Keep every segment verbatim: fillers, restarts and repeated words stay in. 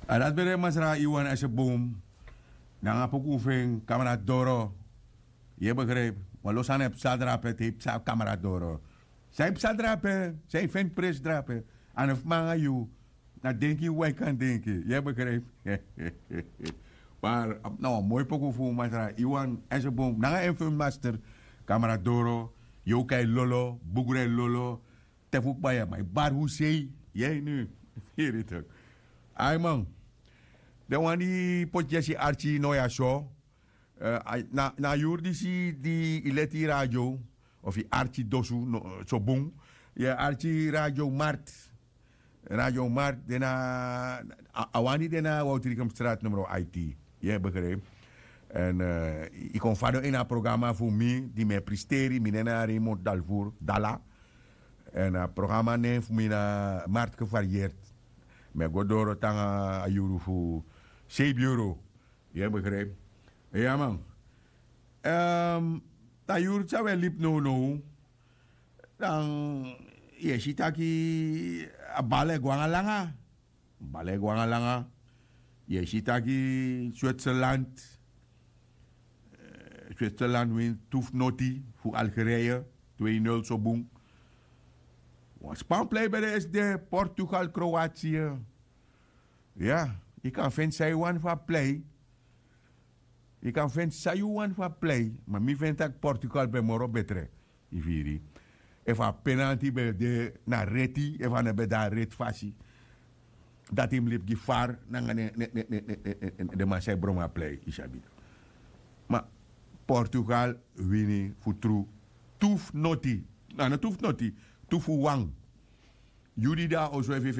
A dati ben de masra iwan esebum. Nanga puku fu en kamera doro. Yu e begripi? Wan lo sani e psa drape te yu psa kamera doro. San yu psa drape? San yu feni presi drape? A no fu mi nanga yu. Na denki yu wai kan denki. Yu e begripi? Mar na wan moi poku fu masra iwan esebum nanga en fu en master. Kamera doro. Yu o kai lolo bugru e lolo. Te fu kba yu a man yu bari fu sei. Yu e ini yu. Iri tok. Ai man. Den wan di poti yesi arki no ya so. Na a yuru disi di yu leti yu radio of yu arki dosu, so bun. Yu e arki radio mart. Radio mart de na a wani de na woutrikum strat numero aiti. Yu e begripi? Èn yu kon fadon ini a programa fu mi di mi e pristeri mi nen na raymond dalvour dala. Èn a programa nen fu mi na martke variert. Mi e go doro tanga a yuru fu sei biuro. Yu e begripi? Ya man. Na yuru san wi e libi nownow, dan yu e si taki a bala e go nanga langa. Bala e go nanga langa. Yu e si taki switzerland switzerland win tu fu noti fu algerije. Twee nul so bun. Wan span plei ben de esi de portugal kroatie. Ya, yu kan feni san yu wani fu a plei. Yu kan feni san yu wani fu a plei ma mi feni tak' portugal ben moro betre. Yu firi? Efu a penalti ben de na reti efu a no ben de na reti fasi, dati yu mus libi gi far nanga den man san e bron a plei yu sabi. Ma portugal wini fu tru. Tu fu noti. A no tu fu noti. Tu fu wan. Yu di de na oso efu yu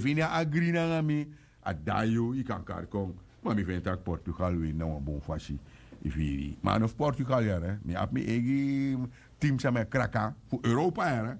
feni a agri nanga mi, a dan yu yu kan kari kon. Ma mi feni tak' portugal wini na wan bun fasi. Yu firi? Ma a no fu portugal yara mi abi mi eigi tim san mi e kraka fu europa yara.